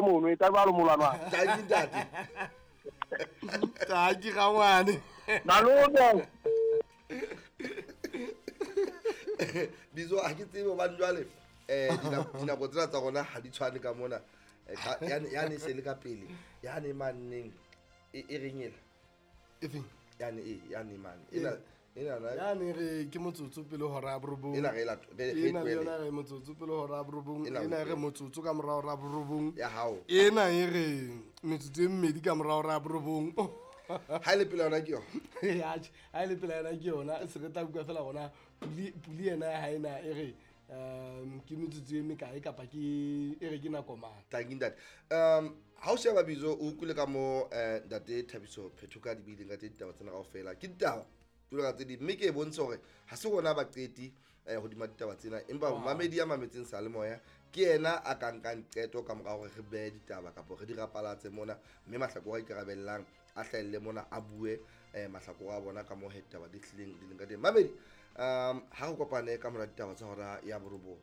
Mono e tsa jwalo molwana. Tanki ntate. Tanki rangwane. Malome. Bizo ha ke tsebe hobane jwale dinako tsena tsa rona ha di tshwane ka mona. Yane e se le ka pele. Yane manneng e reng ela? E feng? Yane e, yane mane. Ena ena yane re ke motsotso pele hora ya borobong. Ena re la re ena le yona re motsotso pele hora ya borobong. Ena re motsotso ka mora hora ya borobong. Ya hao. Ena e re metsotso e mmedi ka mora hora ya borobong. Ha ile pele yona ke yona. Atjhe, ha ile pele yona ke yona. Se re tla bua fela hona puli ena ya ha ena e re ke metsotso e mekae kapa ke e re ke nako mang. Thank you ntate. Ha o sheba Bizo o utlwile ka mo ntate Thabiso Phethoka di buileng ka tse ditaba tsena kaofela. Ke ditaba jwalo ka tse ding, mme ke e bontshe hore ha se rona baqeti hodima ditaba tsena, empa mamedi ya mametseng seyalemoya ke yena a ka nkang qeto ka mora hore re behe ditaba kapa re di rapalatse mona, mme mahlakore a ikarabellang a hlahelle mona a bue mahlakore a bona ka moo he ditaba di hlileng di leng ka teng. Mamedi, ha re kopane ka mora ditaba tsa hora ya borobong.